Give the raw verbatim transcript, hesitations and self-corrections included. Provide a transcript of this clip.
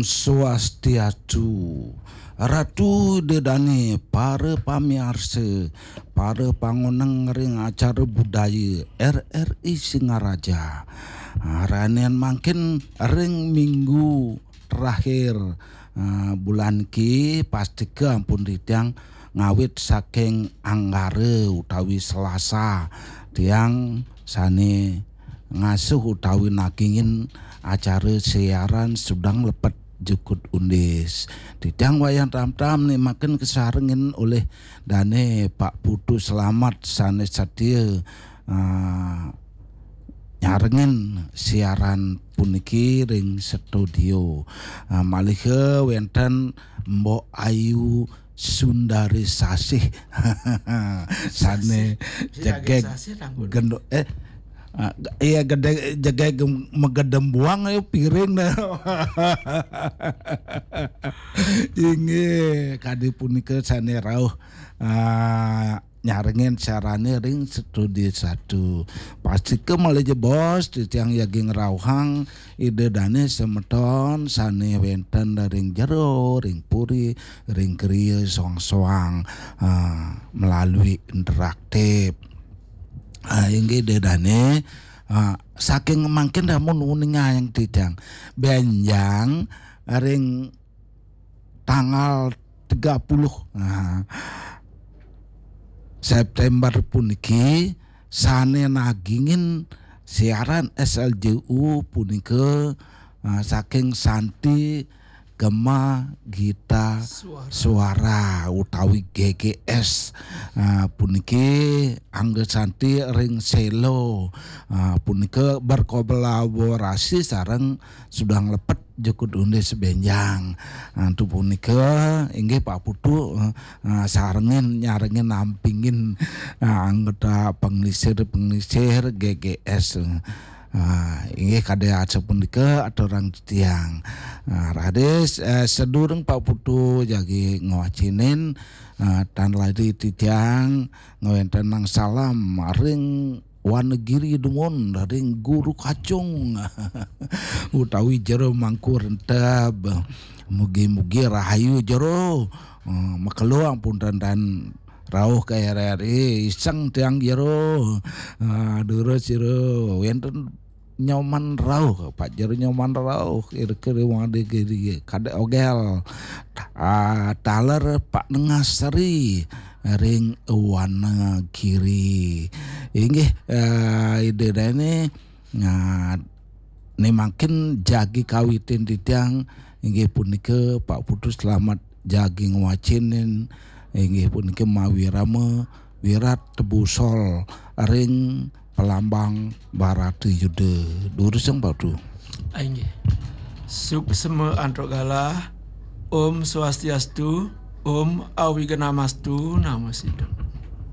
Swastiastu. Ratu Ida Dane, para pamiarsa, para pangoneng ring acara budaya R R I Singaraja. Ah, ranin mangkin ring minggu terakhir, ah, bulan ki, pastika ampun titiang ngawit saking Anggara utawi Selasa. Tiang sane ngasuh utawi nagingin acara siaran Sudang Lepet Jukut Undis. Titiang wayah tam-tam nimaken kasarengin olih dane Pak Putu Selamat sane satia, ah, nyarengin siaran puniki ring studio. Ah, malih wenten Mbok Ayu Sundari Sasih sane Sasih, jegeg Sasih, ampun. Gendo-, eh, ah, iya, gede, jegeg magedem buang, ayo, piring dah. Inggih, kadi punika sane rauh, ah, nyarengin siarane ring studio satu. Pastika malih jebos, titiang jagi ngrauhang Ida Dane semeton sane wenten ring jero, ring puri, ring griya soang-soang, ah, melalui interaktif. Ah, inggih Ida Dane, ah, saking mangkin ramun uningayang titiang benjang ring tanggal tiga puluh, nah, September puniki sane nagingin siaran S L J U punika, ah, saking Santi Gema Gita Suara. Suara utawi G G S. Ah, puniki angga santi ring Selo. Ah, punika berkolaborasi sareng Sudang Lepet Jukut Undis benjang. Antu punika inggih Pak Putu, eh, eh, sarengin, nyarengin, nampingin, eh, anggota pengelisir-pengelisir G G S. Ah, inggih kadi asapunika aturang titiang. Ah, raris, eh, sadurung Pak Putu jagi ngwacinin, ah, tan lali titiang ngwentenang salam ring Wanagiri dumun ring Guru Kacung utawi Jero Mangku Renteb. Mugi-mugi rahayu Jero. Eh, makelo ampun dandan rauh ka R R I, iseng tiang Jero. Eh, durus Jero. Wenten Nyoman rauh, Pak Jero Nyoman rauh, kira-kira Wanagiri, kada ogel. Ah, taler Pak Nengasari ring Wanagiri. Inggih, eh, Ida Dane, nah, ne mangkin jagi kawitin titiang, inggih punika Pak Putu Selamat jagi ngwacinin, inggih punika mawirama Wirat Tebusol ring Pelambang Barata Yuda. Durusang Pak Putu. Ah, inggih. Suksema antuk galah. Om Swastiastu, Om Awignamastu, Namo Sidham.